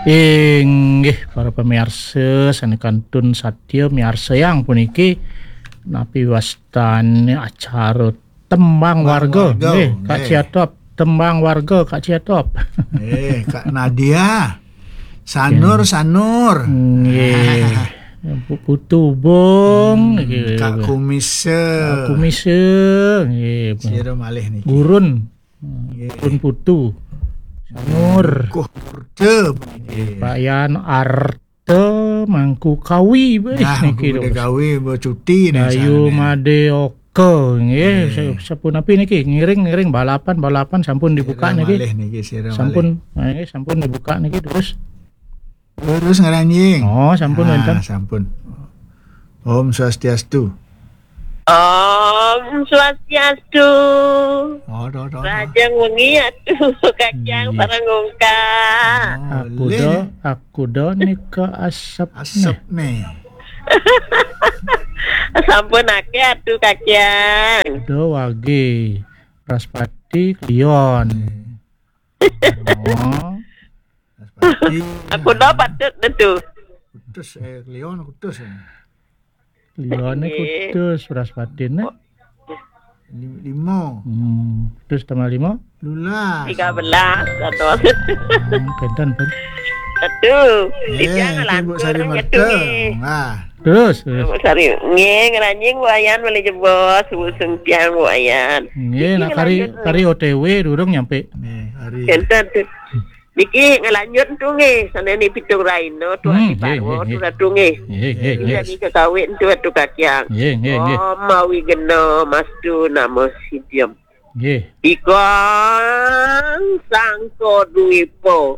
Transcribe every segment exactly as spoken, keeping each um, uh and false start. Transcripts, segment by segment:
Inggih, para pamiarsa sané kantun satia miarsayang puniki, napi wastane acara tembang warga. Tembang warga, nggih, Kak nggih. Ciatop, tembang warga, Kak Ciatop. Nggih, Kak Nadia. Sanur, Nggih. Sanur. Nggih. Bu Putu Bung, Hmm, nggih. Kak Kumisa. Kak Kumisa, nggih. Sira malih niki. Gurun. Hmm, Nggih. Gurun Putu. Sanur. Kuh Murda. Nggih. Pak Yan Arta Mangku Kawi, wis Nah, niki Mangku Gede terus. Kawi, Mbok Cuti nih Dayu sanane. Made Oka, nggih. Nggih. Sa-, sapunapi niki? Ngiring, ngiring, balapan, balapan sampun dibuka Sira niki. Malih niki, sira Sampun, malih. Nggih, sampun dibuka niki terus. Terus ngeranjing. Oh, sampun Ah, wénten. Sampun. Om Swastiastu. Om Swastiastu. Oh, do, do, do. Rahajeng wengi atuh, Kacang Nggih. Sareng Ungkak. Oh, Aku lin. Do, aku do nika asep Asep nih. Nih. Sampun akeh atuh, Kacang. Do wage. Raspati Kliwon. Hmm. Oh. Raspati. Aku do patut atuh. Kutus, eh, Kliwon kutus, eh. Kliwone Nggih. Kutus, Braspatine. Oh. Li-, lima. Hmm, kutus tambah lima? Lulas. Tiga belas, dados. Hmm, kenten, pun. Aduh, Eh, titiang itu Bu ngelantur Sari ngetu Merta. Nggih. Nah. Terus, terus. Bu Sari, nggih, ngeranjing Bu Ayan malih jebos, Bu Sungkiang Bu Ayan. Nggih, niki nak kari, ngelanjut. Kari O T W durung nyampe. Nggih, kari. Kenten tuh. Niki ngelanjut tuh nggih, sanani pitung raina tuh Hmm, ati nggih, parwa nggih, tuh nggih. Ratu nggih. Nggih, nggih, Ini nggih. Lagi kekawin tuh Ratu Kakiang. Nggih, nggih, nggih. Om mawi gena mastu nama sidiam. Nggih. Ikang Sangka Dwipa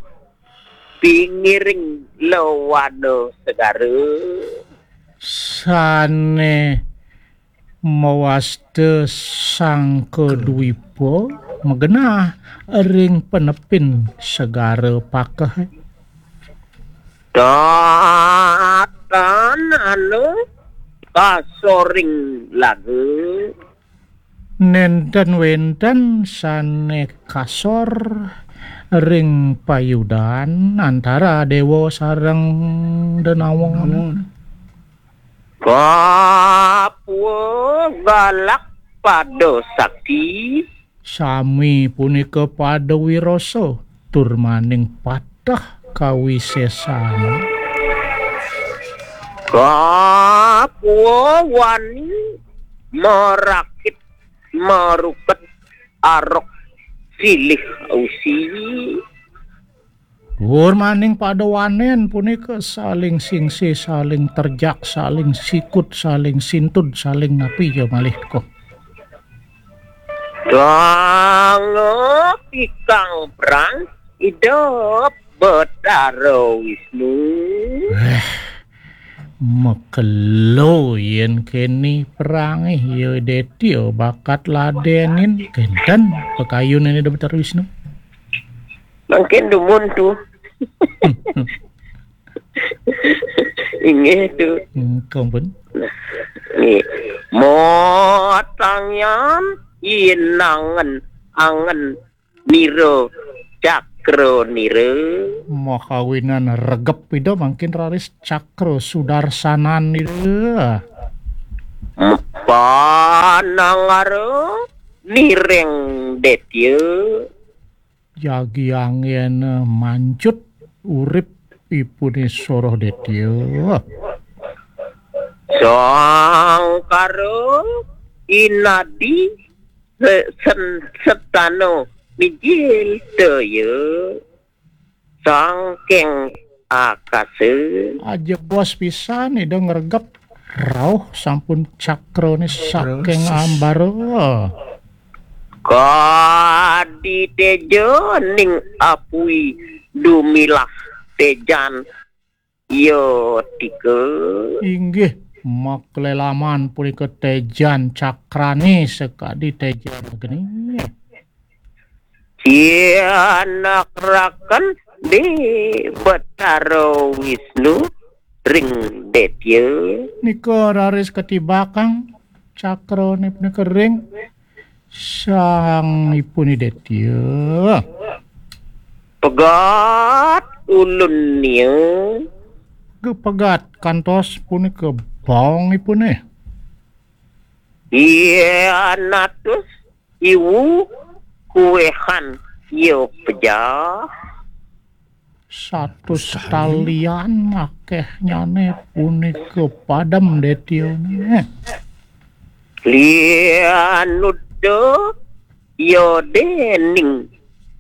pingiring lawana segara. Sane mawasta Sangka Dwipa magenah ring penepin segara pakeh. Tatan anu kasoring laga. Nenten wenten sane kasor ring payudan antara dewa sareng denawa. Namun. Kapua galak pada sakti. Sami punika pada wirasa, tur maning patah kawisesan. Kapua wani marakit maruket arok silih usi. Tur maning pada wanen punika saling singsi, saling terjak, saling sikut, saling sintud, saling napi ya malih kok. Dangep ikang perang idep Betara Wisnu. Eh, makelo yen keni perange ya Detya bakat ladenin kenten pakayun ini Betara Wisnu. Mangkin dumun tu. Inggih tu. Hmm, kampun. Nggih. Motangyan inangen angen nira cakra nira. Makawinan regep ida mangkin raris cakra sudarsanan ida. Panangara niring detya. Jagi angin mancut urip ipune soroh detya. Sangkara inadi se-, sen-, setano mijil daya sangking akasa. Ajebos pisan ida ngregep rauh sampun cakrane saking ambara. Kadi teja ning apui dumilah tejan ya tika. Inggih, maklelaman punika tejan cakrane sakadi tejan geni. Cianakraken di Betara Wisnu ring detya. Nika raris katibakang cakrane punika ring sang ipun detya. Pegat ulun nia. Gepegat kantos punika bongipune. Iya natus iwu kuehan iya pejah. Satus talian akehnyane punika padem detione. Lianuda iya dening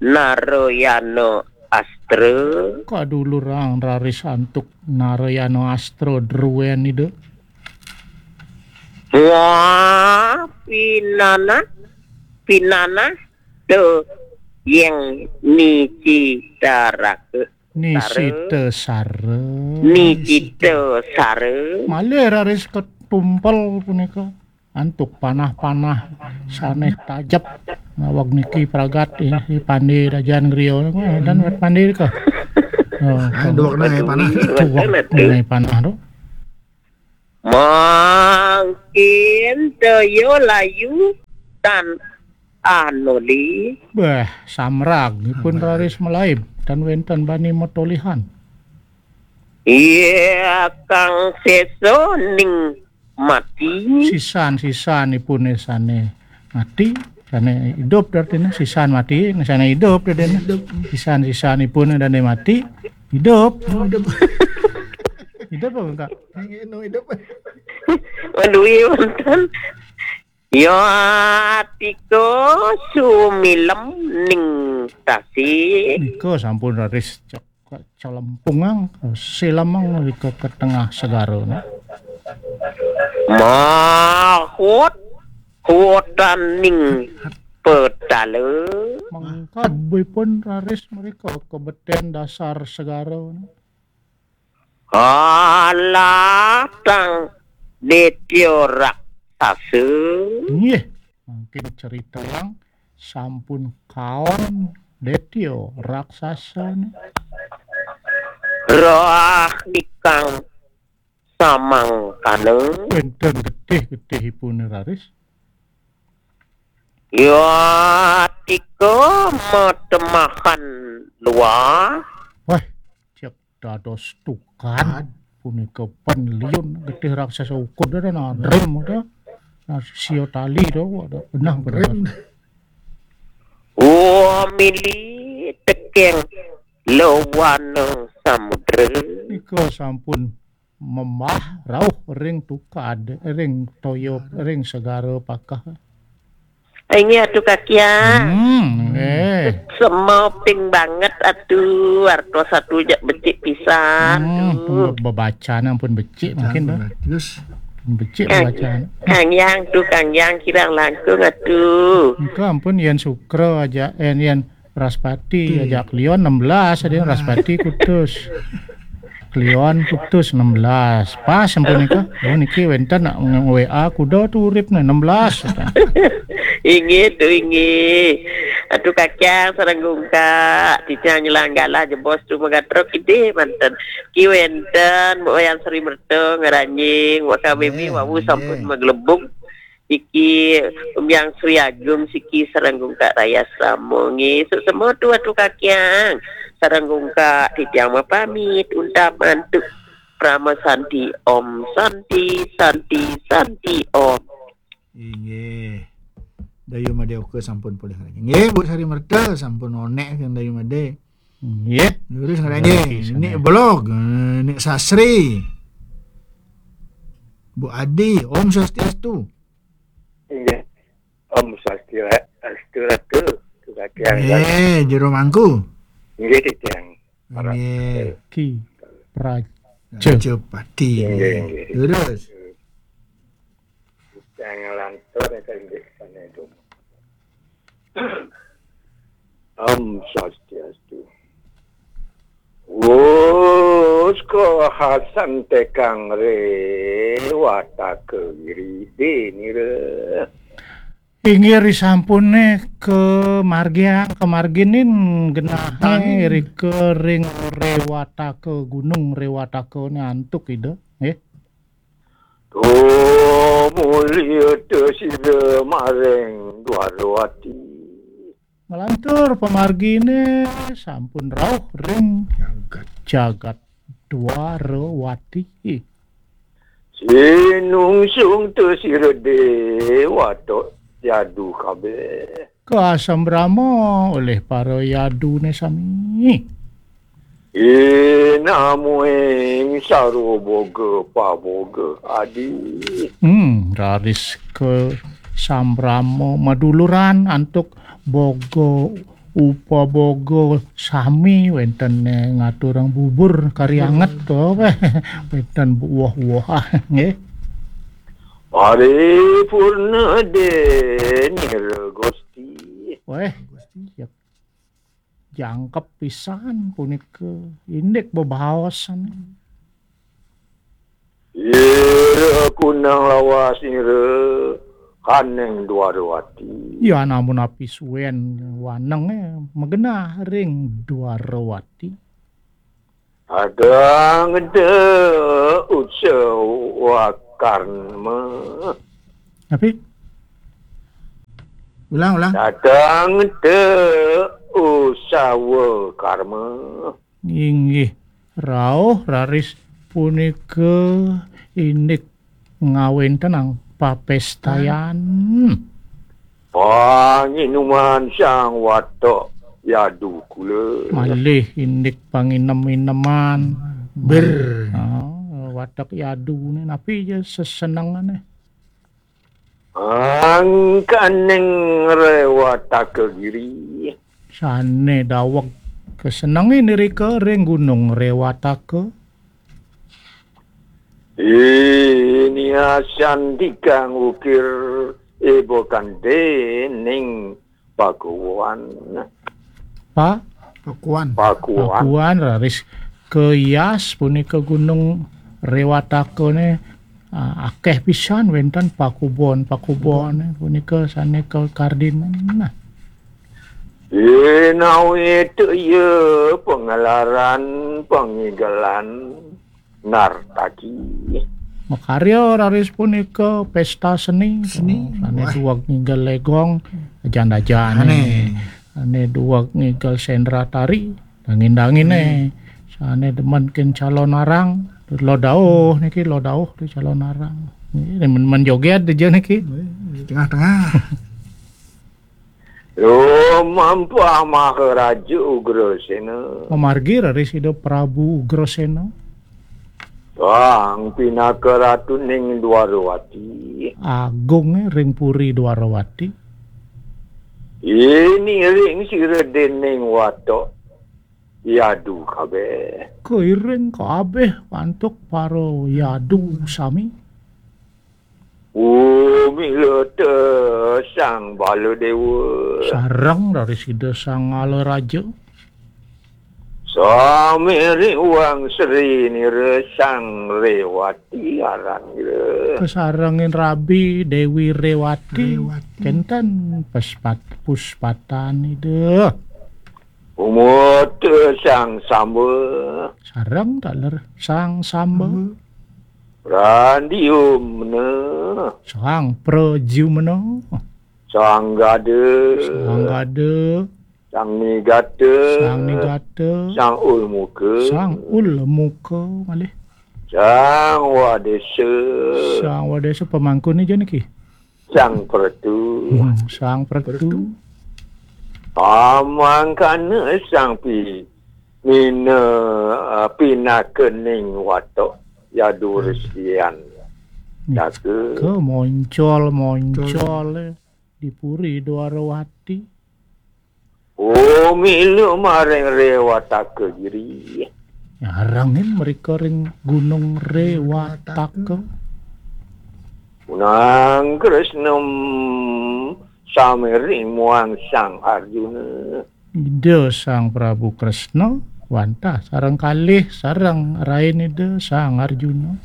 Narayana Astra. Kadulurang raris antuk Narayana Astra druen ida. Wah, pinanah, pinanah, tu yang nicitaraka. Nisita sara. Nisita sara. Malih raris ketumpel punika. Antuk panah-panah sane tajep. Naweg niki pragat, eh, i pande dajan griya niku, eh, dan wet pande ka. Oh, aduh, kena panah. Aduh, kena panah tu. Mangkin daya layu tan anuli. Bah, samrag ipun raris malaib, tan wenten bani matolihan. Iya, kang sesa ning mati. Sisan-sisan ipun sane mati, sane idup artine, sisan mati, sane idup artine. Sisan-sisan ipun dane mati, idup. Idup apa, Kak? Anu, iya, wonten. Ya, tika sumilem ning tasik. Nika sampun raris cek-, celempungang, silemang nika ke tengah segara, nah. Mahut hutan ning petala. Mengkabipun raris mereka kebeten dasar segara, nah. Kalah tang detya raksasa. Nggih, mangkin cerita yang sampun kaon detya raksasa ni. Roh nikang samangkana. Wenten getih-getihipun raris. Ya tika matemahan luah. Wah, cek dados tukad. Punika pen liun getih raksasa ukud ada nadrem ada. Nah, sia tali tu ada benah bener. Wah, mili tekeng lawana samudra. Nika sampun memah rauh ring tukad, ring toya, ring segara pakeh. Inggih, Atu Kakiang. Hmm, eh. Semaping banget, Atu. Artos Atu jak becik pisan, hmm, tu. Bebaca ampun becik mungkin, sampun, dah. Bagus. Becik Kang, bacaan. Kang Yang tu, Kang Yang kirang langkung, Atu. Engko ampun yen Sukra aja, eh, yen Raspati, hmm, ajak Kliwon enam belas, ada yang Raspati kutus. Kliwon kutus enam belas. Pas sampun nika. Oh, niki wenten nak nge-, W A kuda tu urip nih, enam belas. Inggih tu, inggih. Atu Kakiang sareng Gungkak, titiang nyelang galah jebos tu megatrok idih manten. Ki wenten, Mbok Wayan Sri Merta, Ngeranjing, Mbok K B B, eh, wau sampun, eh, maglebung. Iki Umbyang Sri Agung siki sareng Gungkak Rayas Rama. Nggih, suk semua tu Atu Kakiang. Sareng Gungkak titiang mapamit, untat mantuk. Parama Santi Om, Santi, Santi, Santi Om. Inggih. Dayu Made Oka sampun polih lagi. Nggih, Bu Sari Merta sampun onek kan Dayu Made. Nggih. Lurus ngeranjing. Nggih, ini sana. Blog, eh, Nik Sasri. Bu Adi, Om Swastiastu. Inggih. Om Swastiastu, Ratu. Sugati. Eh, jero mangku. Inggih, titiang. Inggih. Ki Praja. Raja Pati. Inggih, inggih. Terus. Titiang lantur, inggih, sana itu. Om Swastiastu. Wus kahasan tekang re wataka wiri denira. Inggih risampune ke margiang, ke marginin genahe rika ring rewataka gunung, rewataka ne antuk ida, nggih. Tumuli tesida maring Dwarawati. Nglantur pamargine sampun rauh ring jagat Dwarawati. Sinungsung te sira dewa tok yadu kabeh. Kasambrama olih para yadune sami. Inamuing sarwa boga paboga adi. Hmm, raris kasambrama maduluran antuk boga upaboga sami wenten ngaturang bubur kari anget to, wenten buah-buah, nggih. Paripurna denira Gusti. Weh, ya jangkep pisan punika indik bebaosan. Ira kunang lawas nira kaning Dwarawati. Ya namun api suwen wanenge magenah ring Dwarawati. Adang de utsawa karma. Tapi ulang, ulang. Datang te usawa karma. Inggih, rauh raris punika indik ngawentenang papestayan. Panginuman sang watok yadu kula. Malih indik panginem-ineman. Ber. Ah, watok yadune napi ja sesenengane? Angkaning Rewataka Giri. Sane daweg kasenenge nirika ring Gunung Rewataka. Ini asan dikang ukir ibukan dening Pakuan. Pa? Pakuan. Pakuan. Pakuan raris kayas punika Gunung Rewatakane, ah, akeh pisan wenten pakubon-pakubone punika sane kakardin. Nah. Inawit ya pangelaran pangigelan nartaki. Makarya raris punika pesta seni. Seni. Sane duweg ngigel legong, ajan-ajane. Ane. Sane duweg ngigel sendra tari, dangin-dangine. Sane demen ken calon arang, lo dauh niki, lo dauh tu calon arang. Niki demen-demen joget aja niki. Di tengah-tengah. Lumampah Maharaja Ugrasena. Mamargi raris Ida Prabu Ugrasena. Sang pinaka ratuning Dwarawati. Agung ring puri Dwarawati. Ini ring sira dening watok yadu kabeh. Kairing kabeh antuk para yadu sami. Umila te Sang Baladewa. Sareng raris Ida Sang Alaraja. Sami riwang sri nira Sang Rewati aran nira. Kasarengin rabi Dewi Rewati. Rewati. Kenten pespat-, puspatan Ida. Umut Sang Samba. Sareng taler Sang Samba. Samba. Randiumna. Sang Pradyumna. Sang Gada. Sang Gada. Sang Nigata. Sang Nigata. Sang Ulmuka. Sang Ulmuka malih. Sang Wadesa. Sang Wadesa pamangkune ja niki. Sang Pretu. Hmm, Sang Pretu. Pretu. Pamangkana Sang Pi-, Mina, ah, pinakaning watok yadu resian. Jaga. Ke moncol, moncol, eh, di Puri Dwarawati. Oh, milu maring Rewataka Giri. Nyarengin mereka ring Gunung Rewataka. Unang Kresna samiring muang Sang Arjuna. Ida Sang Prabu Kresna wantah sareng kalih sareng rain Ida Sang Arjuna.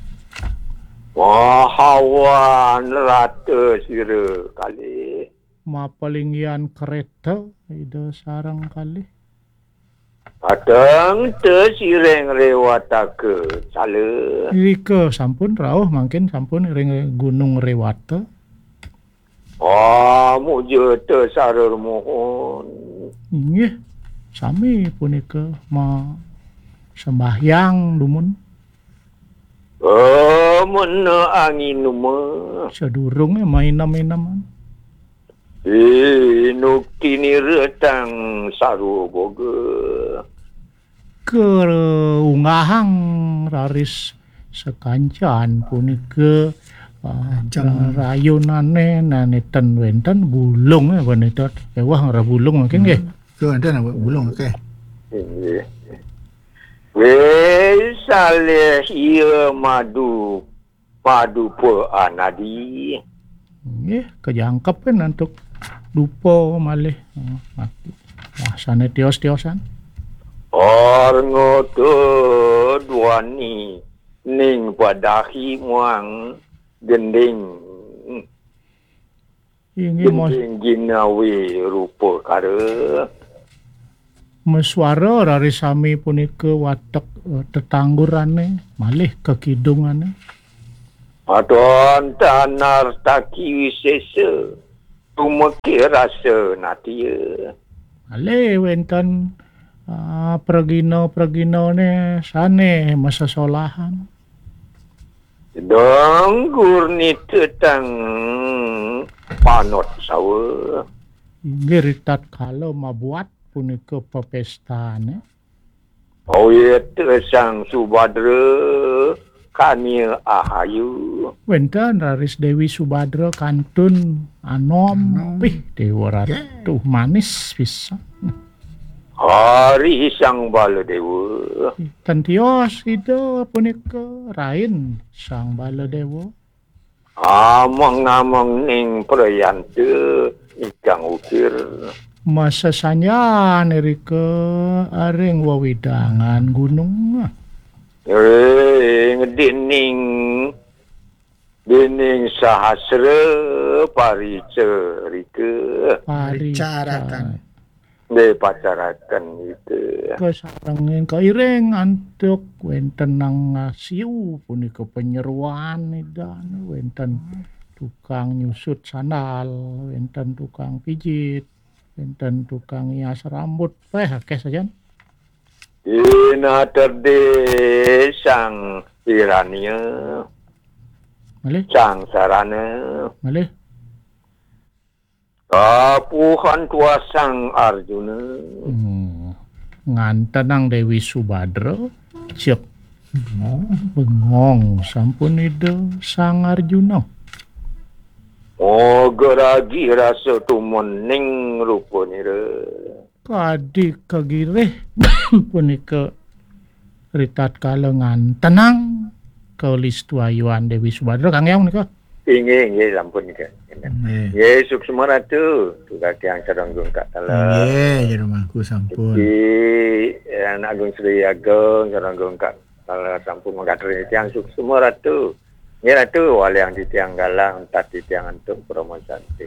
Mahawan rata sira kalih. Mapalinggihan kereta Ida sareng kalih. Pateng te sireng Rewataka sala. Irika sampun rauh mangkin sampun ring Gunung Rewata. Pamuja te sarur mohon. Inggih, sami punika ma-, sembahyang dumun. Oh, mena angin uma. Sadurunge mainem-ineman. Inukti nira tang sarwa boga. Kaunggahang raris sakancan punika, ah, Kancang. Rayunane nane ten wenten bulung, eh, wanita ewah ngrah bulung mungkin nggih. Hmm. Ke wenten apa bulung, oke. Inggih. Wis salih iya madu padupa anadi. Nggih, kajangkep kan antuk dupa malih. Oh, mati. Wah, sane tios-tiosan. Arngata duani ning padahi muang gending. Inggih, Mas. Gending ginawi rupa kara. Maswara rari sami punika watek, eh, tetanggurane, malih kekidungane. Adon tanar taki wisesa, tumekih rasa natia. Malih wenten, ah, pragina-praginane sane masesolahan. Danggur nita tang panot sawa. Inggih ritatkala mabuat punika pepestane. Awit Sang Subadra kania ahayu. Wenten raris Dewi Subadra kantun anom. Anom. Pih, Dewa Ratu. Nggih. Manis pisan. Hari Sang Baladewa. Ten tios Ida punika rain Sang Baladewa. Ameng-ameng ning prayanta ingkang ukir. Masesanjan irika ring wewidangan gunung. Ring dening, dening sahasra paricarika. Paricaratan. Nggih, pacaraken gitu. Kasarengin kairing antuk wenten nang ngasiu punika penyeruan Ida, wenten tukang nyusut sandal, wenten tukang pijit, wenten tukang ngias rambut, peh akeh sajan. Inaterde Sang Hiranya. Malih? Sang Sarana. Malih? Kapuhan tuah Sang Arjuna. Hmm. Ngantenang Dewi Subadra, cep. Bengong. Bengong sampun Ida Sang Arjuna. Moga ragi rasa tumening rupanira. Kadi kagirih punika ritatkala ngantenang kalistuayuan Dewi Subadra, Kang Hyang, menika? Inggih, inggih, sampun nika. Nggih. Nggih, suksma Ratu. Tukang tiang sareng Gung Kak Tala. Nggih, jero mangku sampun. Iki, eh, Anak Gung Sri Agung sareng Gung Kak Tala sampun mangkatur tiang suksma Ratu. Nggih, Ratu, waliang titiang galang, entat titiang antuk Parama Santi.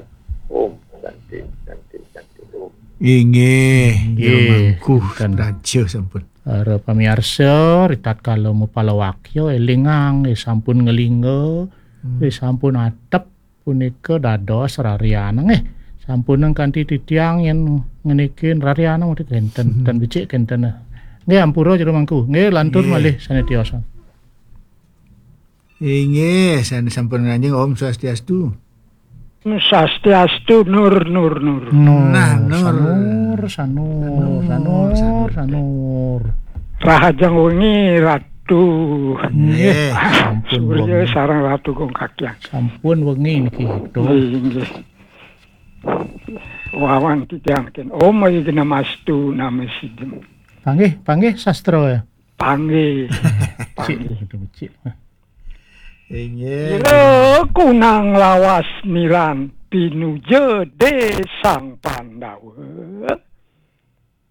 Om Santi, Santi, Santi, Om. Inggih, jero mangku raja sampun. Para pamiarsa, ritatkala mupalawakya, elingang, eh, sampun ngelingga, eh, sampun atep, punika dados rarianeng, eh. Sampunang kanthi titiang yen ngenikin rarianeng, mesti kenten, ten becik kenten, eh. Nggih, ampura jero mangku. Nggih, lantur malih sane tiosan. Inggih, sane sampun nganjeng, Om Swastiastu. Swastiastu, Nur, Nur, Nur. Nur, nah, Nur. Sanur, Sanur, Sanur, Sanur, Sanur. Rahajeng wengi, Ratu. Nggih, sampun wengi. Surya sareng Ratu Gung Kakyang. Sampun wengi niki, Ratu. Nggih, nggih. Wawan titiang ken. Om Yigna Mastu Namo Siddham. Panggih, panggih sastra ya. Panggih. Cik, panggih. Becik. Inggih. Ira kunang lawas niran pinuja de Sang Pandawa.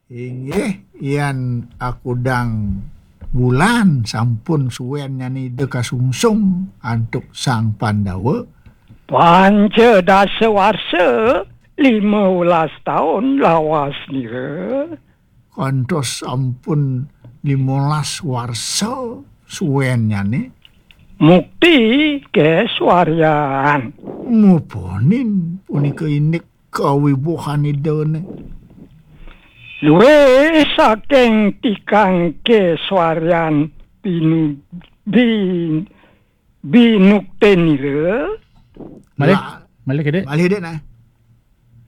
Inggih, yan akudang wulan sampun suwennyane Ida kasungsung antuk Sang Pandawa. Panca dasa warsa, lima welas taun lawas nira. Kantos sampun limolas warsa suwennyane. Mukti keswaryan. Muponin punika indik kawibuhan Idane. Duwe saking tikang keswarian binu, bin, binuktenira. Malih, La- malih kedek. Malih dek nah.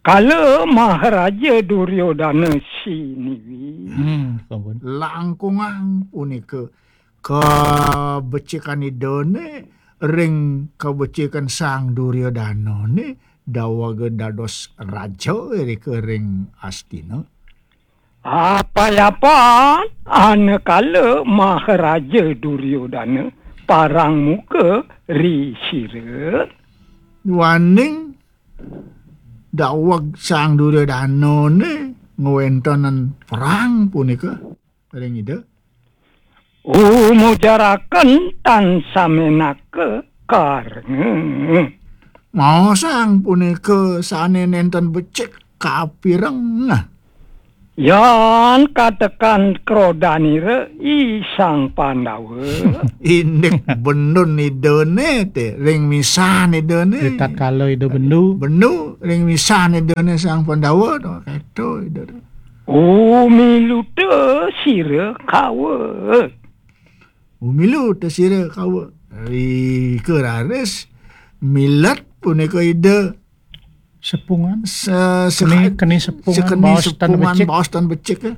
Kala Maharaja Duryodana siniwi. Hmm, ampun. Langkungang punika kabecikan Idane ring kabecikan Sang Duryodana ne dawaga dados raja irika ring Astina. Apayapan anakala Maharaja Duryodana parang muka ri sira. Duaning daweg Sang Duryodana ne ngwentenen perang punika ring Ida. Umujaraken tan samenaka karenge. Maosang punika sane nenten becik kapireng. Yan katekan krodanira i Sang Pandawa. Indik bendun Idane te, ring misan Idane. Ritatkala Ida bendu. Bendu, ring misan Idane Sang Pandawa, to, keto Ida. Umiluta sira kawa. Umiluta sira kawa. Rika raris milet punika Ida. Sepungan. Se-, seka-, keni, keni sepungan, sekeni baos tan sepungan, becik. Baos tan becik, eh.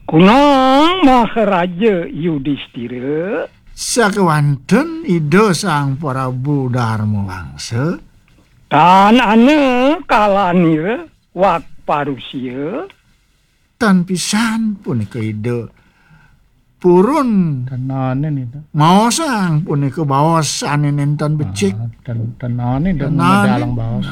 Kunang Maharaja Yudistira. Sakewanten Ida Sang Prabu Darma Wangsa. Tan ana kalanira wak parusia. Tan pisan punika Ida purun. Tan ana nita. Maosang punika baos sane nenten becik. Ah, tan, tan ana nita. Tan ana. Dalang baos.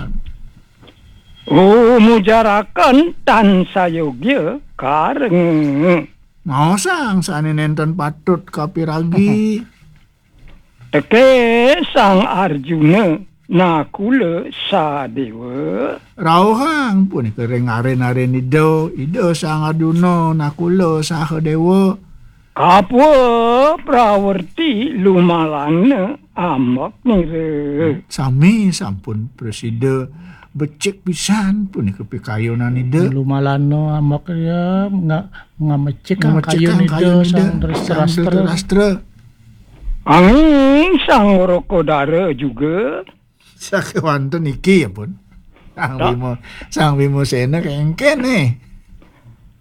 Umujaraken tan sayogya karenge. Maosang sane nenten patut kapiragi. Teke Sang Arjuna Nakula Sadewa. Rauhang punika ring arin-arin Ida, Ida Sang Arjuna Nakula Sahadewa. Kapwa prawerti lumalana ambek nira. Sami sampun prasida becik pisan punika pikayunan Ida. Lumalana ambek ya, nga-, ngamecik. Ngamecik kayun Ida, kayun Ida, Sang Dhritarastra. Sang Dhritarastra. Anging Sang Wrakodara juga. Sakewanten niki ya pun. Sang Bima, Sang Bima Sena kengken nih.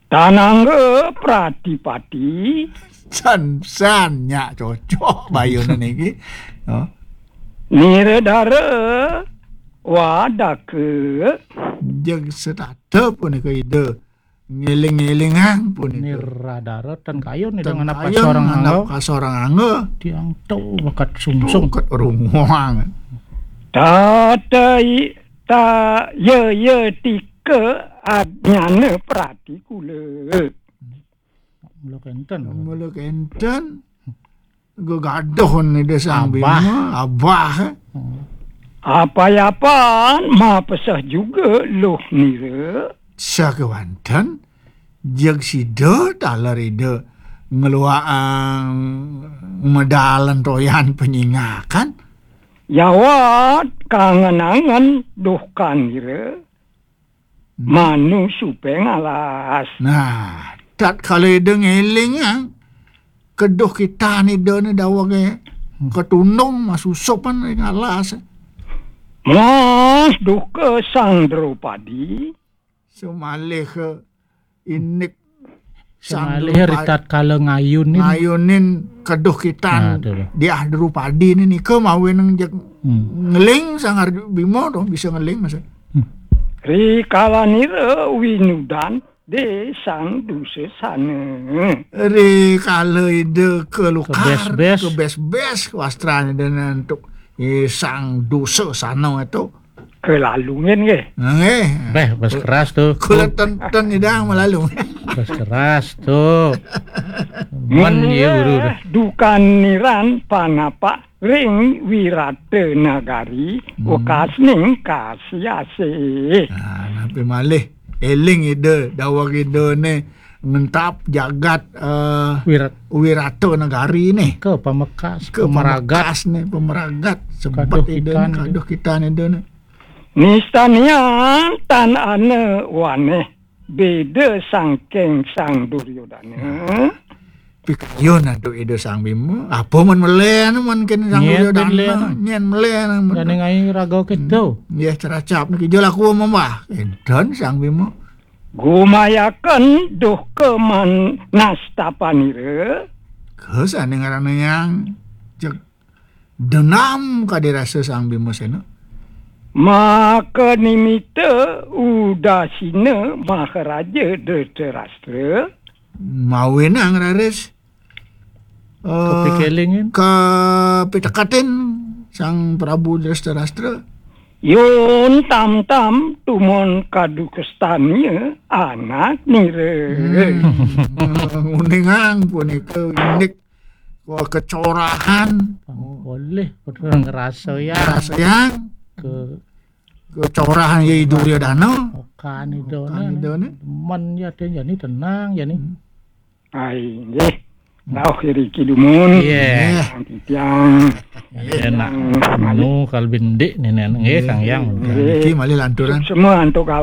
Tanangga Pratipati. San, san, nyak cocok bayunan niki. Oh. Niradara Wadaka. Jeg setata punika Ida. Ngiling-ngilingang punika. Niradara tan kayun Ida ngenap kasorang angga. Ngenap kasorang angga. Tiang tu bakat sungsung. Bakat runguang. Tata i-, ta, ya, ya, tika adnyana pratikula. Mula kenten. Mula kenten. Gegaduh Ida Sang Bima, abah. Abah. Hmm. Apayapan mapeseh juga luh nira. Sakewanten, jeg sida taler Ida ngeluaang medalan toyan penyingakan. Yawat kangen-angen duhkan nira. Hmm. Manu supe ngalas. Nah, tatkala Ida ngelingang keduh kitan Ida ne dawege, hmm, ketundung masusupan ring alas. Mas duka Sang Dropadi. Semalih ke indik Sang Dropadi. Semalih ritatkala ngayunin. Ngayunin keduh kitan. Nah, to. Diah Dropadi ne nika mawinan jeg, hmm, ngeling Sang Arju Bima to, bisa ngeling masa. Hmm. Rikala nira winudan de Sang Dusasana. Rikala Ida kelukar, kebes-bes, kebes-bes wastrane dene antuk, eh, Sang Dusasana itu. Kelalungin nggih. Nggih. Beh, bes keras to. Kula ten, ten Ida malalung. Bes keras to. Men ye uru. Dukan niran panapak ring Wirata Nagari, hmm, wekasning kasih-asih. Nah, napi malih eling Ida, daweg Ida ne ngentap jagat, eh, Wirat-, Wirata Nagari ne. Ke pamekas, ke pemeragat. Pamekas ne, pemeragat. Sebet kaduh Ida ne, kitan Ida. Kaduh kitan Ida ne. Nistanian tan ana waneh. beda sangking Sang Duryodana. Pikayun atuh Ida Sang Bima. Apa man meleh anu man kene Sang Nyén Duryodana? Meleh anu. Nyén meleh anu man. Dane ngai raga kita. Hmm. Nggih, ceracap niki jol aku mambah. Enten Sang Bima. Gumayaken duh ke man nastapanira. Ke sane ngaranna yang cek denam kadi rasa Sang Bima Sena. Maka nimita udasina Maharaja Dhritarashtra. Mawinang raris, eh, kapikelingin, kapitekatin Sang Prabu Dhritarashtra. Yun tam-tam tumon kadukestanya anak nira. Hmm. Nguningang punika indik kecorahan. Boleh, betul ngerasa ya. Ngerasa ya. Ke kecorahan ya Duryodana. Okan itu. Okan itu, nah. Teman ya, dia jadi tenang, jadi. Hmm. Ai, nggih. Rauh iriki dumun. Iya. Nggih. Titiang. Enak. Anu, kal bindik nih, nih. Nggih, Kang Yang. Nggih. Niki malih lanturan. Semua antuk